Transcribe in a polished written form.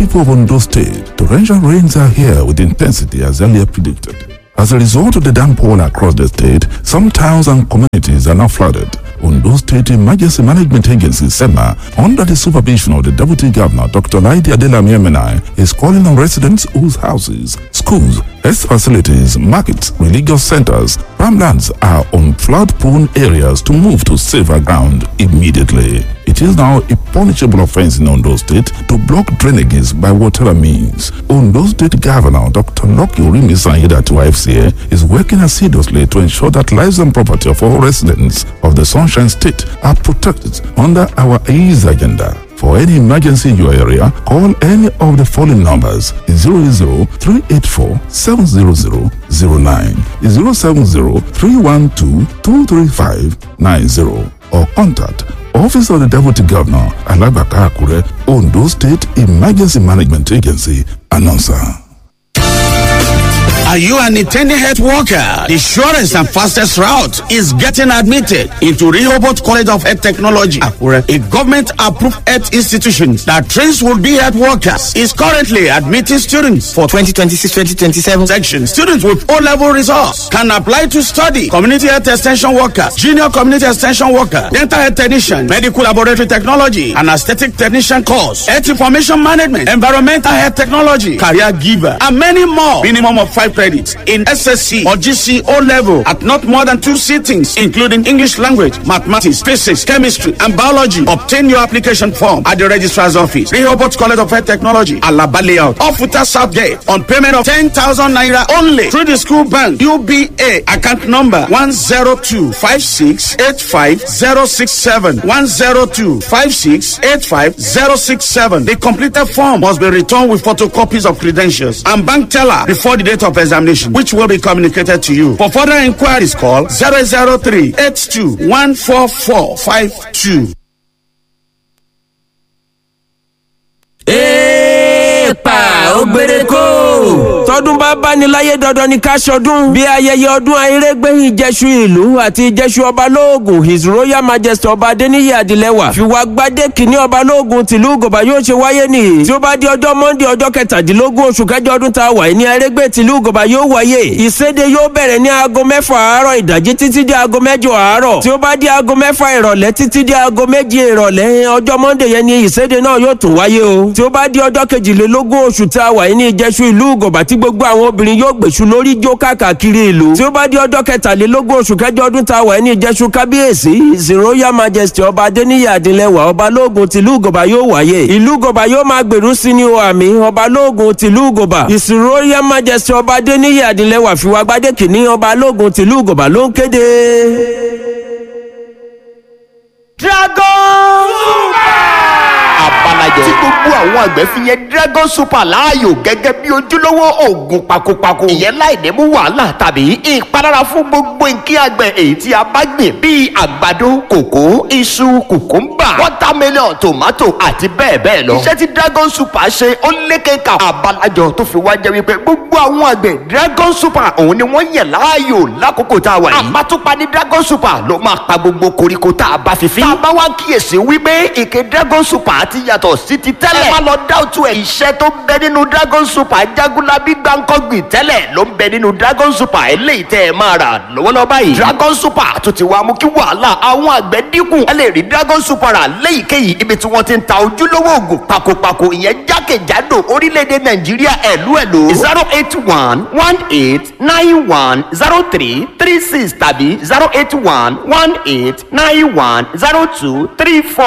people of Ondo State, torrential rains are here with intensity as earlier predicted. As a result of the downpour across the state, some towns and communities are now flooded. Ondo State Emergency Management Agency, SEMA, under the supervision of the Deputy Governor, Dr. Laidi Adelami Emenai, is calling on residents whose houses, schools, health facilities, markets, religious centers, farmlands are on flood-prone areas to move to safer ground immediately. It is now a punishable offense in Ondo State to block drainages by whatever means. Ondo State Governor Dr. Lucky Orimisan Aiyedatiwa FCA is working assiduously to ensure that lives and property of all residents of the Sunshine State are protected under our AIDS agenda. For any emergency in your area, call any of the following numbers: 00 384 700 09, 070 312 235 90, or contact Office of the Deputy Governor, Alagbaka Akure, Ondo State Emergency Management Agency, announcer. Are you an intending health worker? The surest and fastest route is getting admitted into Rehoboth College of Health Technology, Akure, a government-approved health institution that trains would-be health workers, is currently admitting students for 2026-2027 section. Students with O-level results can apply to study community health extension workers, junior community extension worker, dental health technician, medical laboratory technology, and aesthetic technician course, health information management, environmental health technology, career giver, and many more. Minimum of 5 credits in SSC or GC O level at not more than 2 sittings, including English language, mathematics, physics, chemistry, and biology. Obtain your application form at the registrar's office, Rehoboth College of Health Technology, Alaba Layout, Ofuta South Gate, on payment of 10,000 naira only through the school bank, UBA, account number 102-5685-067, 102-5685-067. The completed form must be returned with photocopies of credentials and bank teller before the date of examination, which will be communicated to you. For further inquiries, call 003 82 144 52. Èèpà ògbéré kó. Tọdún bá báni láyé, dandan ni ká ṣọdún. Bí ayẹyẹ ọdún ayérégbé ìjẹsù ìlú àti ìjẹsù ọba lóògùn, His Royal Majesty Ọba Adéníyì Adìlẹ́wà fìwà gbadé kìíní ọba lóògùn tìlú Ìgòbá yóò ṣe wáyé nìyí. Tí ó bá di ọjọ́ Monday, ọjọ́ 17 oṣù kẹjọ ọdún tá a wà ní ayérégbé tìlú Ìgòbá yóò wáyé. Ìséde yóò bẹ̀rẹ̀ ní aago 6 àárọ̀ ìdájí títí di aago 8 àárọ̀. Tí ó bá di aago 6 ìrọ̀lẹ́ títí di aago 7 ìrọ̀lẹ́ ọjọ́ Monday yẹn ni ìséde náà yóò tún wáyé o. Tí ó bá di ọjọ́ 22 oṣù tá a wà ní ìjẹsù ìlú Ìgòbá tí gbogbo àwọn obìnrin yóò gbèsù lórí jó káàkiri ìlú. Tí ó bá di ọjọ́ 23 oṣù kẹjọ ọdún tá a wà ní ìjẹsù kábíyèsí, His Royal Majesty Ọba Adéníyì Adìlẹ́wà ọba lóògùn tìlú Ìgòbá yóò wáyé. Ìlú Ìgòbá yóò máa gbèrú sí ní o àmì ọba lóògùn tìlú Ìgòbá. His Royal Majesty Ọba Adéníyì Adìlẹ́wà fìwàgbádé kìíní ọba lóògùn tìlú Ìgòbá ló ń kéde. Dragon Abalajẹ tí gbogbo àwọn àgbẹ̀ fi yẹn Dragon Super láàyò gẹ́gẹ́ bí ojúlówó oògùn pakopako. Ìyẹn láì ní mú wàhálà tàbí ìpalára fún gbogbo nǹkan àgbẹ̀ èyí tí a bá gbìn bíi àgbàdo, kòkó, iṣu, kùkúmbà, watermelon, tomato àti bẹ́ẹ̀ bẹ́ẹ̀ lọ. Iṣẹ́ tí Dragon Super ṣe ó lékeka. Abalajọ tó fi wá jẹ́ wípé gbogbo àwọn àgbẹ̀, Dragon Super òun ni wọ́n yàn láàyò lákòókò tá a wà yìí. Àpatúpa ní Dragon Super ló máa pa gbogbo koríko tá a bá fi fín. Tá a bá wá kíyèsí wípé ìké Dragon Super ti yàtọ̀ sí ti tẹ́lẹ̀. Ẹ má lọ dáwùtú ẹ̀. Iṣẹ́ tó ń bẹ nínú Dragon Super jagunlabi gbàǹkọ́gbìn tẹ́lẹ̀ ló ń bẹ nínú Dragon Super eléyìí tẹ́ ẹ máa rà lọ́wọ́lọ́wọ́ báyìí. Dragon Super tó ti wá mú kí wàhálà àwọn àgbẹ̀ dínkù. Ẹ lè rí Dragon Super rà léyìíkéyìí ibi tí wọ́n ti ń ta ojúlówó oògùn pakopako, ìyẹn jákèjádò orílẹ̀-èdè Nàìjíríà. Ẹ̀lú ẹ̀lú 08118910336 tàbí 08118910234.